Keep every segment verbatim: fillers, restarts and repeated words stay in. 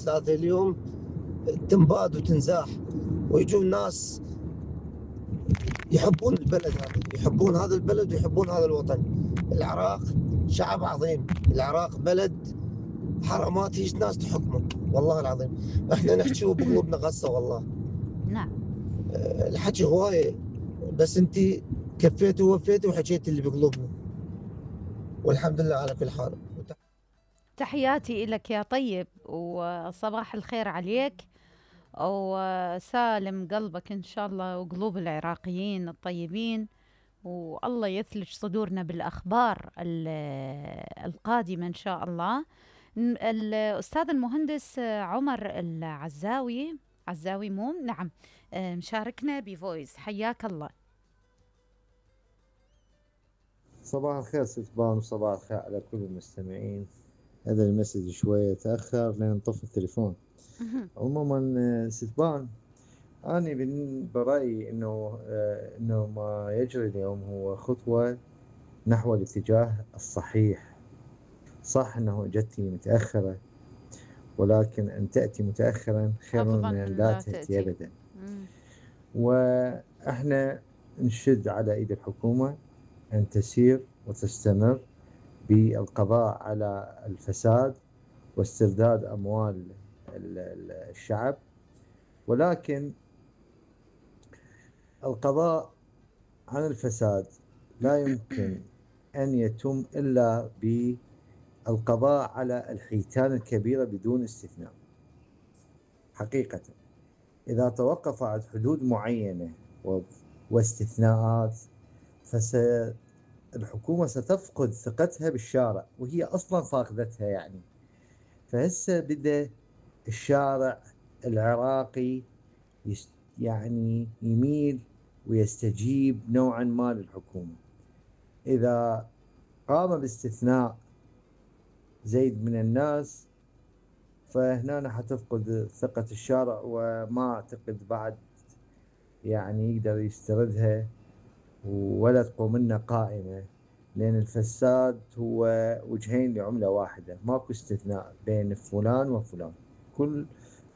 ثلاثة اليوم تنباد وتنزاح، ويجون ناس يحبون البلد هذا، يحبون هذا البلد ويحبون هذا الوطن. العراق شعب عظيم، العراق بلد حرامات هيج ناس تحكمه والله العظيم. احنا نحكي وبقلوبنا غصة والله. نعم. أه الحكي هواية، بس انت كفيتي ووفيتي وحكيتي اللي بقلوبنا، والحمد لله على كل حال. تحياتي لك يا طيب، وصباح الخير عليك، وسالم قلبك إن شاء الله وقلوب العراقيين الطيبين، والله يثلج صدورنا بالأخبار القادمة إن شاء الله. الأستاذ المهندس عمر العزاوي عزاوي موم نعم مشاركنا بفويس، حياك الله. صباح الخير ست بان، وصباح الخير على كل المستمعين. هذا المسج شوية تأخر لأن طفى التليفون. عموما ست بان، أنا برأيي إنه إنه ما يجري اليوم هو خطوة نحو الاتجاه الصحيح. صح إنه جتي متأخرة، ولكن أن تأتي متأخرا خير من أن لا تأتي أبدا. وإحنا نشد على إيد الحكومة أن تسير وتستمر بالقضاء على الفساد واسترداد أموال الشعب، ولكن القضاء عن الفساد لا يمكن أن يتم إلا بالقضاء على الحيتان الكبيرة بدون استثناء. حقيقة إذا توقف عن حدود معينة واستثناءات فالحكومة ستفقد ثقتها بالشارع، وهي أصلا فاقدتها يعني. فهسه بدأ الشارع العراقي يعني يميل ويستجيب نوعا ما للحكومة. إذا قام باستثناء زيد من الناس فهنا حتفقد ثقة الشارع، وما أعتقد بعد يعني يقدر يستردها ولا تقوم لنا قائمة، لأن الفساد هو وجهين لعملة واحدة، ماكو استثناء بين فلان وفلان. كل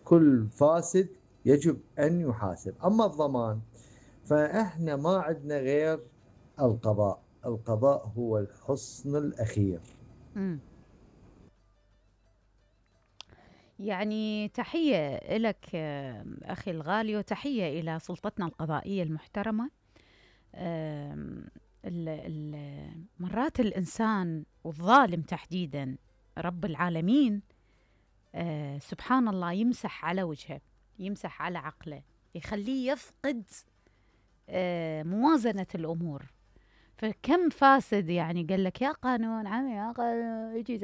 كل فاسد يجب أن يحاسب. أما الضمان فإحنا ما عندنا غير القضاء. القضاء هو الحصن الأخير. م. يعني تحية لك أخي الغالي، وتحية إلى سلطتنا القضائية المحترمة. مرات الإنسان والظالم تحديدا رب العالمين آه سبحان الله يمسح على وجهه، يمسح على عقله، يخليه يفقد آه موازنة الأمور. فكم فاسد يعني قال لك يا قانون عمي يا قانون يجي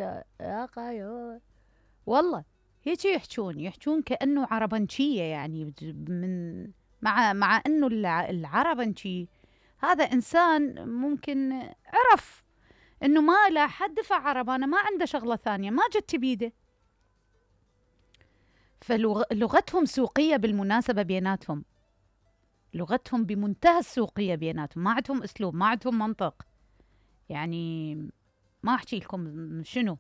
يا قانون، والله هيك يحجون يحجون كأنه عربنشية يعني. من مع مع أنه العربنشي هذا إنسان ممكن عرف أنه ما لا حد دفع عربانة، ما عنده شغلة ثانية، ما جت بيده. فلغتهم سوقية بالمناسبة بيناتهم، لغتهم بمنتهى السوقية بيناتهم، ما عندهم أسلوب، ما عندهم منطق. يعني ما أحكي لكم شنو.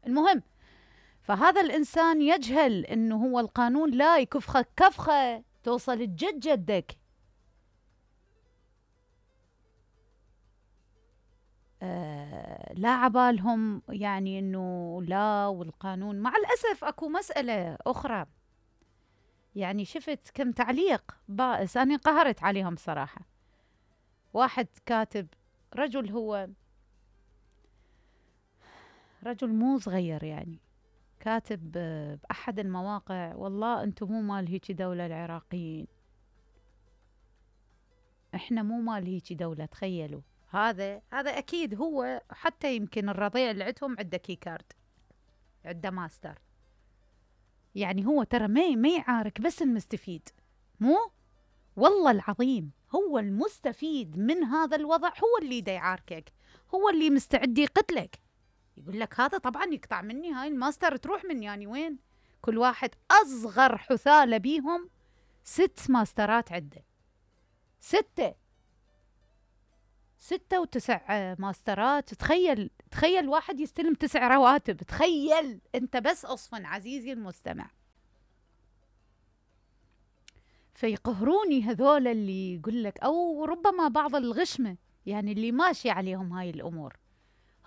المهم، فهذا الإنسان يجهل أنه هو القانون لا يكفخك كفخة توصل الجد جدك. آه لا عبالهم يعني أنه لا، والقانون مع الأسف أكو مسألة أخرى. يعني شفت كم تعليق بائس أنا قهرت عليهم صراحة. واحد كاتب، رجل هو رجل مو صغير يعني، كاتب بأحد المواقع والله أنتم مو مال هيك دولة العراقيين، إحنا مو مال هيك دولة. تخيلوا هذا هذا أكيد هو، حتى يمكن الرضيع اللي عندهم عنده كيكارد، عنده ماستر. يعني هو ترى ما ما يعارك بس المستفيد، مو والله العظيم هو المستفيد من هذا الوضع هو اللي دا يعاركك، هو اللي مستعد يقتلك. يقول لك هذا طبعا يقطع مني، هاي الماستر تروح مني يعني وين. كل واحد أصغر حثالة بيهم ست ماسترات عنده، ستة ستة وتسع ماسترات. تخيل تخيل واحد يستلم تسع رواتب. تخيل انت بس اصفن عزيزي المستمع. فيقهروني هذول اللي يقول لك، أو ربما بعض الغشمة يعني اللي ماشي عليهم هاي الأمور،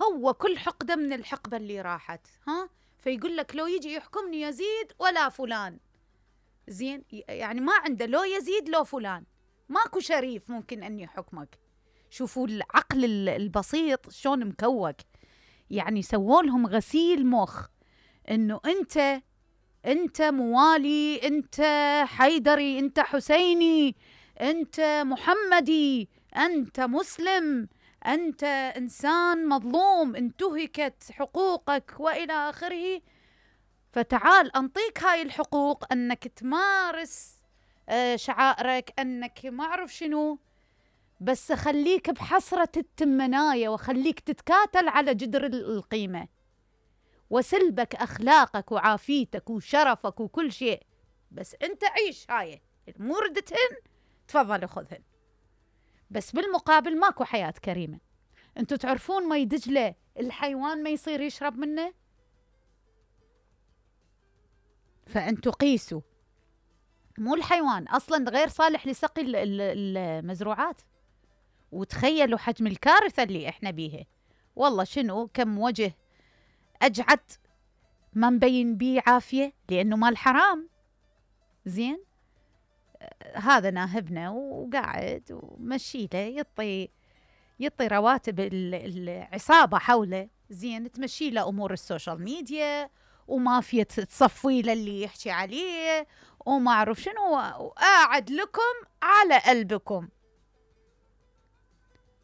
هو كل حقدة من الحقبة اللي راحت، ها فيقول لك لو يجي يحكمني يزيد ولا فلان، زين يعني ما عنده لو يزيد لو فلان، ماكو شريف ممكن أن يحكمك. شوفوا العقل البسيط شلون مكوك، يعني سووا لهم غسيل مخ إنه أنت أنت موالي، أنت حيدري، أنت حسيني، أنت محمدي، أنت مسلم، أنت إنسان مظلوم، انتهكت حقوقك وإلى آخره. فتعال أنطيك هاي الحقوق، أنك تمارس شعائرك، أنك ما أعرف شنو، بس خليك بحسرة التمناية، وخليك تتكاتل على جدر القيمة، وسلبك أخلاقك وعافيتك وشرفك وكل شيء، بس أنت عيش هاي الموردتهن، تفضل خذهن، بس بالمقابل ماكو حياة كريمة. أنتوا تعرفون مي دجلة الحيوان ما يصير يشرب منه؟ فأنتوا قيسوا، مو الحيوان أصلا غير صالح لسقي المزروعات، وتخيلوا حجم الكارثة اللي إحنا بيها. والله شنو كم وجه أجعد ما مبين بيه عافية لأنه مال حرام. زين هذا ناهبنا وقاعد ومشيله يطي يطي رواتب العصابة حوله، زين تمشي له أمور السوشيال ميديا، ومافيا تصفي له اللي يحكي عليه وما أعرف شنو، وقاعد لكم على قلبكم.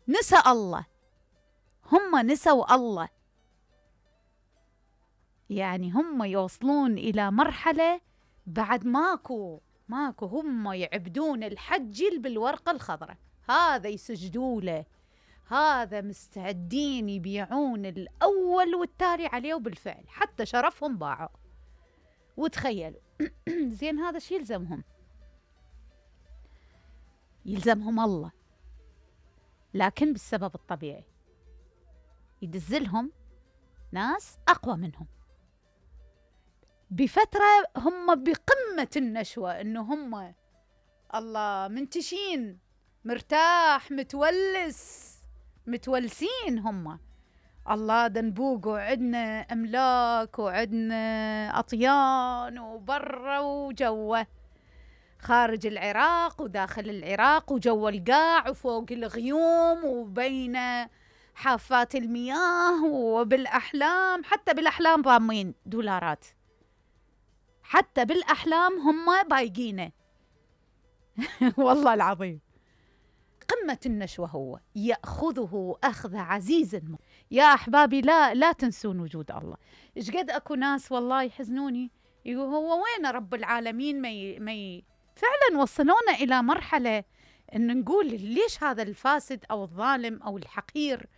نسى الله، هم نسوا الله، يعني هم يوصلون إلى مرحلة بعد ماكو ماكو هم يعبدون الحجل بالورقة الخضراء، هذا يسجدوا له، هذا مستعدين يبيعون الأول والتالي عليه، وبالفعل حتى شرفهم باعوا. وتخيلوا زين هذا شي يلزمهم يلزمهم الله، لكن بالسبب الطبيعي يدزلهم ناس أقوى منهم بفترة هم بقمة النشوة، إنه هم الله منتشين مرتاح متولس متولسين، هم الله دنبوق وعدنا أملاك وعدنا أطيان وبرا وجوه، خارج العراق وداخل العراق وجو القاع وفوق الغيوم وبين حافات المياه وبالأحلام، حتى بالأحلام ضامين دولارات، حتى بالأحلام هم بايقينه والله العظيم قمة النشوة، هو يأخذه أخذ عزيز. يا أحبابي لا لا تنسون وجود الله. إيش قد أكو ناس والله يحزنوني يقول هو وين رب العالمين، ما ي... ما ي... فعلا وصلونا إلى مرحلة إن نقول ليش هذا الفاسد أو الظالم أو الحقير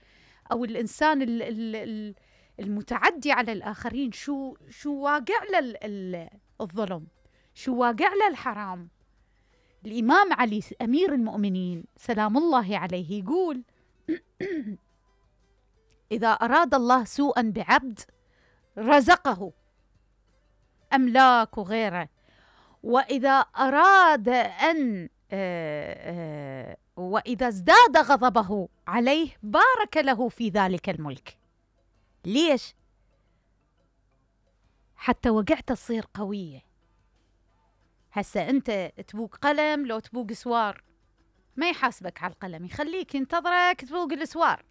أو الإنسان ال... ال... المتعدي على الآخرين، شو شو واقع له الظلم، شو واقع له الحرام. الإمام علي أمير المؤمنين سلام الله عليه يقول إذا أراد الله سوءا بعبد رزقه أملاك وغيره، وإذا أراد أن وإذا ازداد غضبه عليه بارك له في ذلك الملك. ليش؟ حتى وقعت تصير قوية. هسا أنت تبوق قلم لو تبوق سوار ما يحاسبك على القلم، يخليك ينتظرك تبوق السوار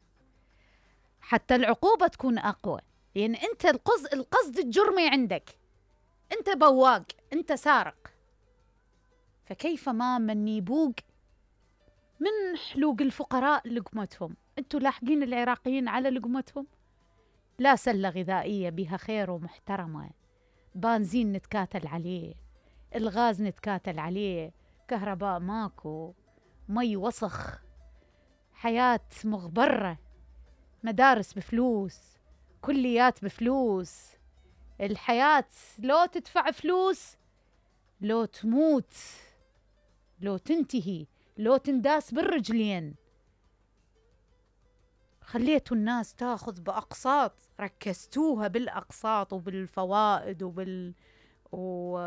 حتى العقوبة تكون أقوى، لأن يعني أنت القصد القصد الجرمي عندك، أنت بواق، أنت سارق، فكيف ما من يبوق من حلوق الفقراء لقمتهم. أنتوا لاحقين العراقيين على لقمتهم؟ لا سلة غذائية بها خير ومحترمة، بنزين نتكاتل عليه، الغاز نتكاتل عليه، كهرباء ماكو، مي وسخ، حياة مغبرة، مدارس بفلوس، كليات بفلوس، الحياة لو تدفع فلوس لو تموت لو تنتهي لو تنداس بالرجلين. خليتوا الناس تاخذ بأقساط، ركزتوها بالأقساط وبالفوائد وبال و